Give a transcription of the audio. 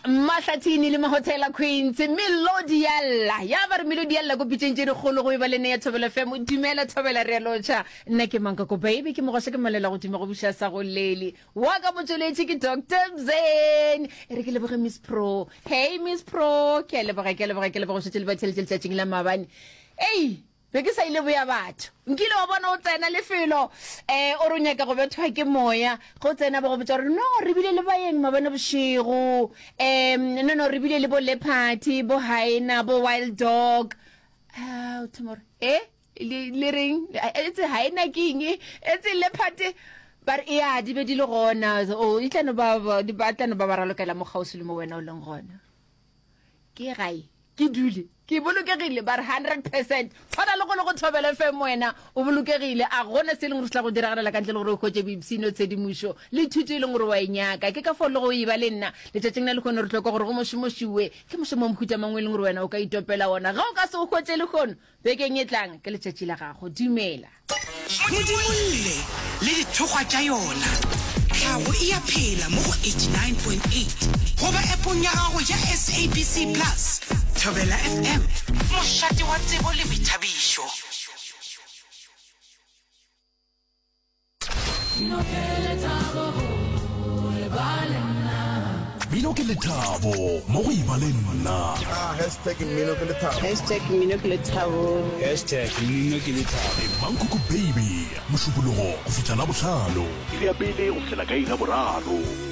Mahlathini le Mahotela Queens, Melodi ya lla. Ya ba re melodi ya lla ko pitšeng tše dikgolo go e ba le nne ya Thobela FM. Dumela Thobela re a lotšha. Nna ke Mankoko Baby, ke mogoša ke malela godimo go buša sa go lele. Wa ka motšweletši ke Doctor Mzen. E re ke leboge Miss Pro. Hey Miss Pro, ke a leboga, ke a leboga, ke leboga go šetše le ba theletše letšatšing la maabane. Ei, Be ke sa ile boya batho. Nkile wa bona o tsena lefelo um o re o nyaka go bethwa ke moya, ge o tsena ba go botša gore no re bile le baeng maabane bošego, um no no re bile le bo leopard, bo hyena, bo wild dog. A o thoma gore e le le reng etse hyena ke eng etse leopard ba re ya di be di le gona o e tla no ba ba tla no ba ba ralokela mo kgauswi le mo wena o leng gona. Ke gae ke dule ke bolokegile ba re 100 percent tshwana le go le go Thobela FM wena o bolokegile a gona se e leng gore se tla go diragalela ka ntle le gore o hwetše boipshino tshedimošo le thuto e leng gore wa e nyaka ke ka fao le go e ba le nna letšatšing la lehono re hloka gore go mošomošiwe ke mošomo wa mohuta mang o e leng gore wena o ka itopela wona ge o ka se o hwetše lehono Bekeng e tlang ke letšatši la gago. Dumela. Modimolle le dithokgwa tša yona. Tlhago e a phela mo go 89.8 goba appong ya gago ya SABC Plus. Thobela FM, mošate wa tsebo le boithabišo. Mmino ke lethabo mo go eba le nna. Ah, hashtag mmino ke lethabo. Hashtag mmino ke lethabo. Hashtag mmino ke lethabo. Le Mankoko Baby, Mošupologo go fihla Labohlano. Iri ya pele go fihlela ka iri ya boraro.